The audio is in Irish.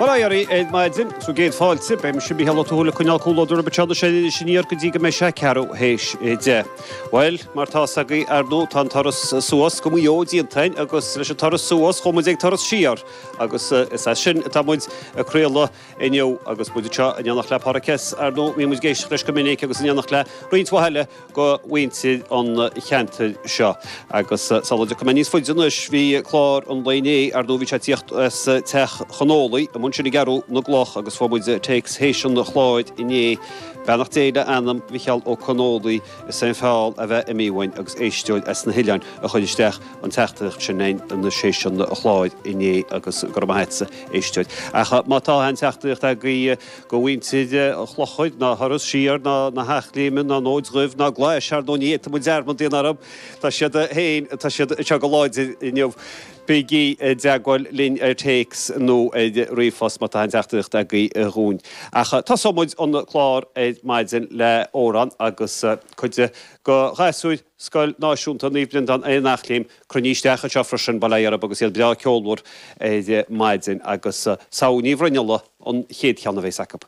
Bail ó Dhia oraibh ar maidin, 'S bhur gcéad fáilte. Beidh mise Mícheál Ó Tuathail ag coinneáil comhluadar oraibh anseo anois aniar go dtí go mbeidh sé ceathrú théis 10. Bhuel, mar tá 'fhios agaibh, ar ndóigh, tá an turas suas go Maigh Eo déanta againn agus leis an turas suas chuaigh muid ag turas siar agus is as sin atá muid ag craoladh inniu agus muid anseo in éineacht le Páraic S, ar ndóigh, mbíonn muid ag éisteacht leis go minic agus in éineacht le roinnt mhaith eile go mhuintir an cheantair seo. Agus sula dtiocfaidh mé níos faide anois, bhí clár an lae inné, ar ndóigh bhí sé ag tíocht as Teach Chonólaigh, amuigh ansin i gCeathrú na gCloch agus fuair muid téacs théis an chláir inné, beannacht Dé le anam Mhicheál Ó Conólaigh, is é an feall a bheith imithe uainn agus éisteoir as na hoileáin a chuir isteach an teachtaireacht sin anois théis an chláir inné agus go raibh maith agatsa, éisteoir. Ach má tá aon teachtaireacht agaibh go mhuintir an Chlochair, ná Thuras Siar, ná na hEachléime, ná an Fhóid Dhuibh, ná Glais, ar ndóigh ní fhéadfaidh muid dearmad a dhéanamh orthu. Tá siad féin, tá siad anseo go láidir inniu. Bígí i dteagmháil linn ar téacs nó ar ríomhphost má tá aon teachtaireacht agaibh dhúinn. Ach tosóidh muid an clár ar maidin le amhrán agus cuid de ghasúir Scoil Náisiúnta Naomh Breandán ar an Eachléim cruinnithe isteach anseo freisin, bail ó Dhia orthu agus iad breá ceolmhar ar maidin agus Samhain Ní Bhruinnealla an chéad cheann a bheas acu.